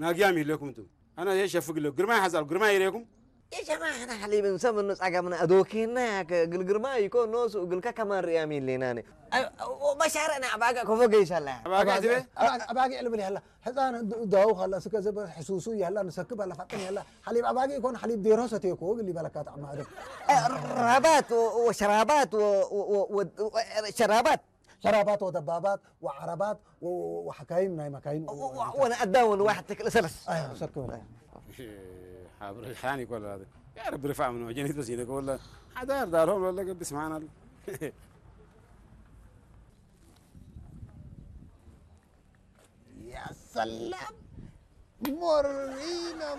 ናጊያም ይለኩም እንቱ ኣና የሸፍግሎ ግርማይ ሓዛል ግርማይ ይሬኩም يا جماعة احنا حليب نسمى النص عقبنا ادوكينا قل قرما يكون نوس وقل كمان ريام لينا وبشارنا اباقا كفو قيس الله ኣባጋ ትበ ኣባጊዕ ልብል ያላ ህፃን ዳው ካላ ስከ ዘበ ሕሱሱ ያላ ንሰክብ ኣላ ፋጥን ያላ ሓሊብ ኣባጊዕ ይኮን ሓሊብ ዴሮ ሰትየኮ ግል ይበለካ ጣዕማ ኣደ رابات وشرابات وشرابات ሸራባት ወደባባት ወዓረባት ወሓካይም ናይ መካይን وانا اداون واحد تكل سلس ሰክብ ሓብሪ ሓን ይኮላ ያ ረቢ ርፋዕ ምን ወጀኒት በስ ይነገ ወላ ሓዳር ዳርሆም ለለ ገብስ ማናል يا سلام مورينا